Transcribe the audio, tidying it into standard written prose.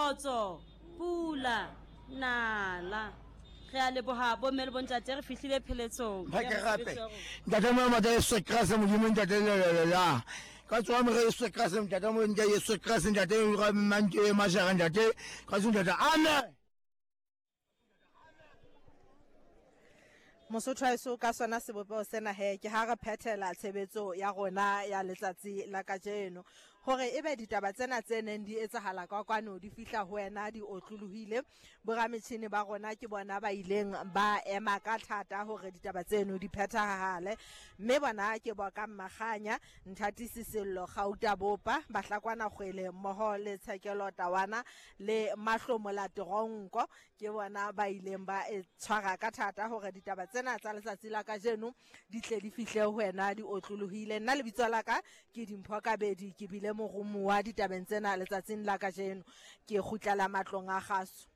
Kgotso, pula, nala. Re a leboha bomme le bontate re fihlile pheletsong. Ba ke gape. Ntate mo mata Yesu Kriste Modimo ntate la la la la. Ka tswa mo Yesu Kriste ntate mo ntate Yesu Kriste ntate ga mantse mashaka ntate ka tswa ntate amen. Mosotho wa heso ka sona sebopeho sena he ke ha re phethela tshebetso ya rona ya letsatsi la kajeno hore ebe ditaba tsena tse neng di etsahala ka kwano di fihla ho wena di otlolohile. Borametjhini ba rona ke bona ba ileng ba ema ka thata hore ditaba tseno di phethahale, mme bona ke Boka Mmakganya, Nthatisi Sello, Gauta Bopa, Bahlakwana Kgwele mmoho le Tshekelo Tawana le Mahlomola Teronko. Ke bona ba ileng ba e tshwara ka thata hore ditaba tsena tsa letsatsi la kajeno di tle di fihle ho wena di otlolohile. Nna lebitso la ka ke Dimpho Kabedi, ke bile moromuwa ditabeng tsena letsatsing la kajeno. Ke kgutlela matlong a kgaso.